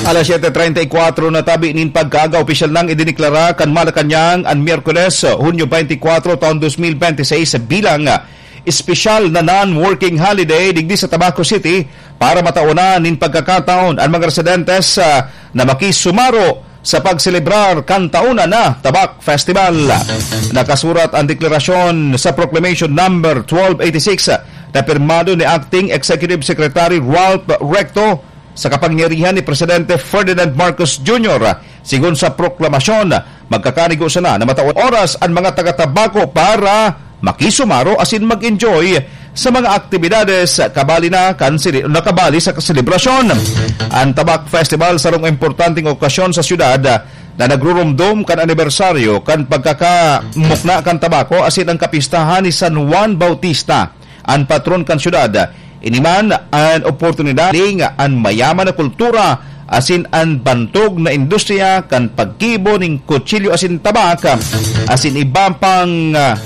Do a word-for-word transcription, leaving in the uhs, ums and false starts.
Alas siyete treinta y cuatro na tabi nin pagkaaga, opisyal nang idineklara kan Malacañang an Miyerkules, Hunyo twenty-four, taon dos mil bente seis bilang espesyal na non-working holiday digdi sa Tabaco City para matawanan nin pagkakataon an mga residentes, ah, na makisumaro sa pagselebrar kan taon na Tabak Festival. Nakasurat ang deklarasyon sa Proclamation Number twelve eighty-six na pirmado ni Acting Executive Secretary Ralph Recto sa kapangyarihan ni Presidente Ferdinand Marcos Junior. Sigon sa proklamasyon, magkakanigo sana na matawan oras an mga taga-Tabaco para makisumaro asin mag-enjoy sa mga aktibidades kabali na kan sili-, nakabali sa selebrasyon. Ang Tabak Festival, sarong importanteng okasyon sa syudad na nagrurumdom kan anibersaryo kan pagkakamukna kan tabako asin ang kapistahan ni San Juan Bautista, an patron kan syudad. Ini man an oportunidad ning an mayaman na kultura asin an bantog na industriya kan paggibo nin kutsilyo asin tabak, asin iba pang, ah,